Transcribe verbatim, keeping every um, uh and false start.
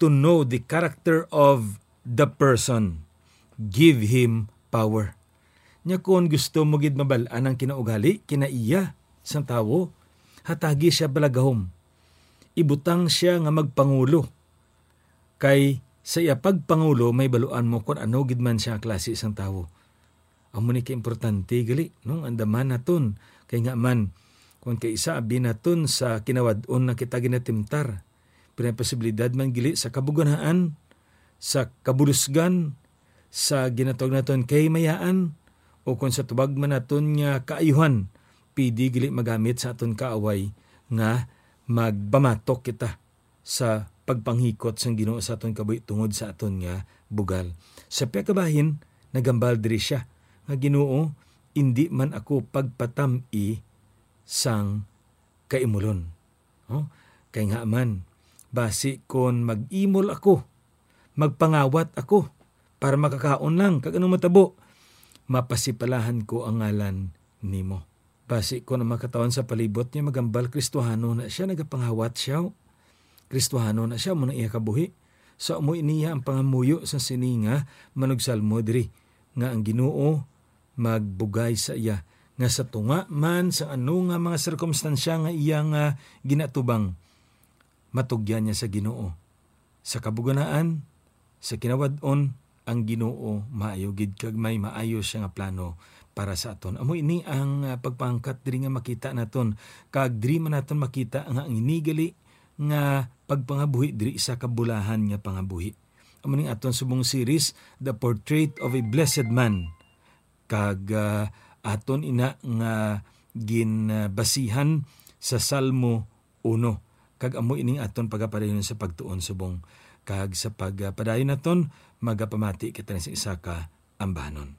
to know the character of the person, give him power. Nya kon gusto mo gid mabal-an ang kinaugali, kinaiya sang tawo, hatagi siya bala gahom. Ibutang siya nga magpangulo. Kay sa iya pagpangulo, may baluan mo kon ano gid man siya klase sang tawo. Amo ni kaimportante gali, no? Andaman naton. Kay nga man, kung kay isa abi naton sa kinawad-on na kita ginatimtar, pero may posibilidad man gali sa kabuganaan, sa kabulusgan, sa ginatawag naton kahimayaan, o kung sa tubag man naton nga kaayuhan, pwede gali magamit sa aton kaaway nga magpamatok kita sa pagpanghikot sang Ginoo sa aton kabuhi tungod sa aton nga bugal. Sa pagkabahin, nagambal diri sia nga, "Ginoo, indi man ako pagpatam-i sang kaimulon." Oh, kay nga man, basi kon mag-imol ako, magpangawat ako para makakaon lang, kag anong matabo? Mapasipalahan ko ang ngalan nimo. Basi kon ang mga katawhan sa palibot niya magambal, Kristohano na siya, nagapangawat siya. Kristohano na siya, amo na iya kabuhi. So, amo iniya ang pangamuyo sa sini nga manugsalmo diri, nga ang Ginoo magbugay sa iya, nga sa tunga man sa ano nga mga sirkumstansya nga iya nga ginatubang, matugyan niya sa Ginoo. Sa kabuganaan, sa kinawad-on, ang Ginoo maayo gid kag may maayo siya nga plano para sa aton. Amo ini ang, ah, pagpangkat diri nga makita naton, kag diri man naton makita nga ang ini gali nga pagpangabuhi diri isa ka bulahan nga pangabuhi. Amo ning aton subong series, The Portrait of a Blessed Man. Kag, ah, aton ina nga ginbasihan sa Salmo uno. Kag amo ining aton pagapadayon sa pagtuon subong. Kag sa pagpadayon naton, magapamati kita sa isa ka ambanon.